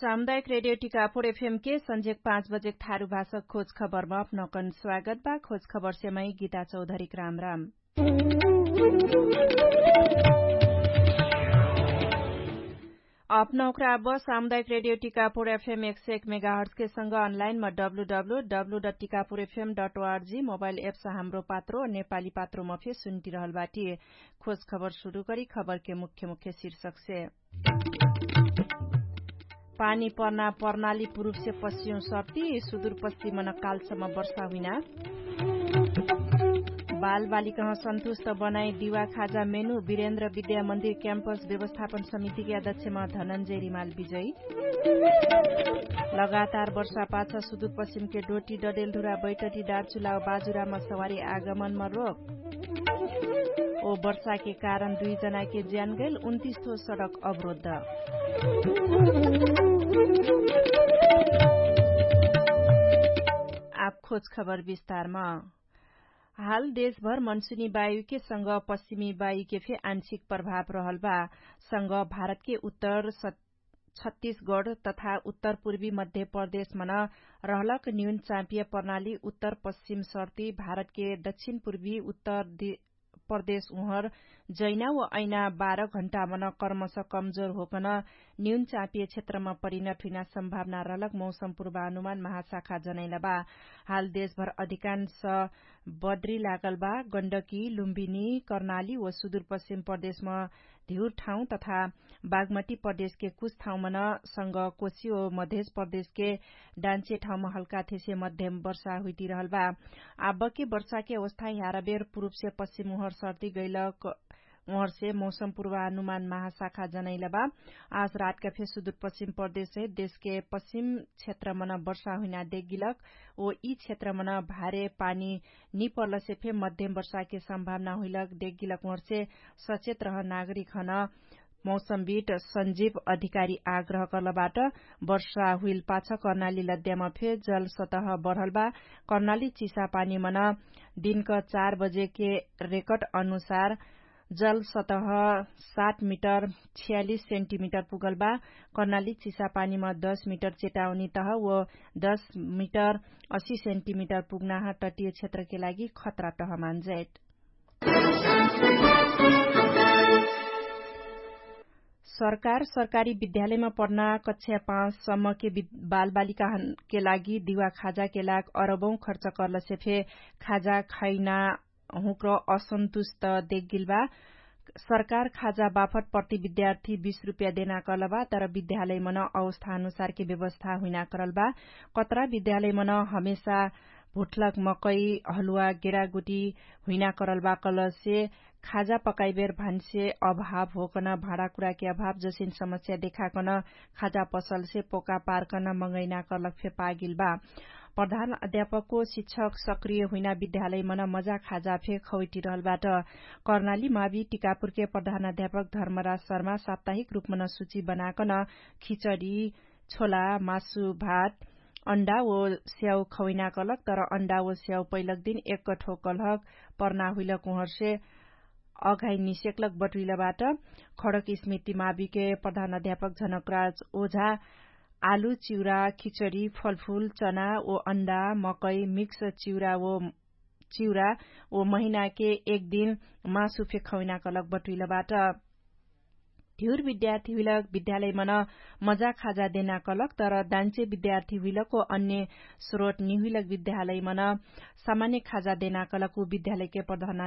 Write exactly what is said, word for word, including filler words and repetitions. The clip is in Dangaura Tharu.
सामुदायिक रेडियो टिकापुर एफएम के संझेक पाँच बजेक थारु भाषक खोज खबरमा अपनौकन स्वागत बा। खोज खबर सेमै गीता चौधरीक राम राम। अपनौकरा अब सामुदायिक रेडियो टिकापुर एफएम एक सय एक मेगाहर्ट्सके संग अनलाइनमा W W W dot Tikapur FM dot ORG mobile apps Hamro Patro नेपाली पात्रोमा फे सुन्टिरहल बाटी। खोज खबर सुरु करी खबरके मुख्य मुख्य शीर्षकसे। पानी पर्ना पर्नाली पुरुपसे पश्चिम सर्ती सुदुर पश्चिमन कालसम्म वर्षा हुइना। बालबालिकह सन्तुष्ट बनाई दिवा खाजा मेनु बिरेन्द्र विद्या मन्दिर क्याम्पस व्यवस्थापन समितिके अध्यक्षमा धनन्जय रिमाल विजयी। लगातार वर्षापाछ सुदुर पश्चिमके डोटी डडेलधुरा बैटटी डारचुलाव बाजुरामा सवारी आगमनमा रोक। ओ वर्षाके कारण दुई जनाके ज्यान गैल उन्तिस थो सडक अवरोध। आप खोज खबर विस्तारमा। हाल देशभर मनसुनी वायुके संग पश्चिमी वायुके फे आंशिक प्रभाव रहल बा। संग भारतके उत्तर छत्तीसगढ तथा उत्तर पूर्वी मध्य प्रदेशमन रहलक न्यून चापिय प्रणाली उत्तर पश्चिम सर्ती भारतके दक्षिण पूर्वी उत्तर प्रदेश उहर जैना व ऐना बाह्र घण्टामन कर्मस कमजोर होकन न्यून चापिय क्षेत्रमा परिणत हुइना सम्भावना रहलक मौसम पूर्वानुमान महाशाखा जनैला बा। हाल देशभर अधिकांश बद्री लागल बा। गण्डकी लुम्बिनी कर्णाली व सुदुरपश्चिम प्रदेशमा धिउर ठाउँ तथा बागमती प्रदेशके कुछ ठाउँमन संग कोशी व मधेश प्रदेशके डान्चे ठाउँमा हल्का थेसे मध्यम वर्षा हुइतिरहल बा। आबके वर्षाके अवस्था ह्याराबेर पुरुपसे पश्चिम उहर सर्ती गैलक उहरसे मौसम पूर्वानुमान महाशाखा जनैला बा। आज रातका फे सुदुरपश्चिम प्रदेशसे देशके पश्चिम क्षेत्रमन वर्षा हुइना देखगिलक ओ यी क्षेत्रमन भारे पानी निपर्लसे फे मध्यम वर्षाके सम्भावना हुइलक देखगिलक उहरसे सचेत रह नागरिक हन। मौसमविट सञ्जीव अधिकारी आग्रह कर्लबाट वर्षा हुइल पाछ कर्णाली लद्यामा फे जल सतह बढल बा। कर्णाली चिसापानीमन दिनक चार बजेके रेकट अनुसार जल सतह सात मिटर छियालिस सेन्टिमिटर पुगल बा। कर्णाली चिसापानीमा दस मिटर चेटाउनी तह व दस मिटर असी सेन्टिमिटर पुग्नाह तटिय क्षेत्रके लागि खतरा तह मान्जैट। सरकार सरकारी विद्यालयमा पढ्ना कक्षा पाँच सम्मके बालबालिकाके लागि दिवा खाजाके लाग अरबौं खर्च कर्लसे फे खाजा खैना हुँक्र असन्तुष्ट देखगिल बा। सरकार खाजा बाफट प्रति विद्यार्थी बीस रुपैया देना कलबा तर विद्यालयमन अवस्था अनुसारके व्यवस्था हुइना करलबा। कतरा विद्यालयमन हमेशा भुठलक मकै हलुवा गेरागुटी हुइना करलबा कलसे खाजा पकाइबेर भान्से अभाव होकन भाँडाकुराके अभाव जसिन समस्या देखाकन खाजा पसलसे पोका पारकन मगैना करलक फे पागिल बा। प्रधान अध्यापकको शिक्षक सक्रिय हुइना विद्यालयमन मजा खाजा फे खौइटिरहलबाट। कर्णाली मावि टिकापुरके प्रधान अध्यापक धर्मराज शर्मा साप्ताहिक रुपमन सुची बनाकन खिचडी छोला मासु भात अण्डा ओ स्याउ खौइना कलक तर अण्डा ओ स्याउ पैलक दिन एक ठोकलहक पर्ना हुइलक उहर्से अघाइ निसेक्लक बटुइलबाट। खडक स्मृति माविके प्रधान अध्यापक झनकराज ओझा आलु चिउरा खिचडी फलफुल चना ओ अण्डा मकै मिक्स चिउरा ओ चिउरा ओ महिनाके एक दिन मासु फेखौइना कलक बटुइलबाट। धिउर विद्यार्थी हुइलक विद्यालयमन मजा खाजा देना कलक तर दान्चे विद्यार्थी हुइलक ओ अन्य स्रोत निहुइलक विद्यालयमन सामान्य खाजा देना कलक उ विद्यालयके प्रधान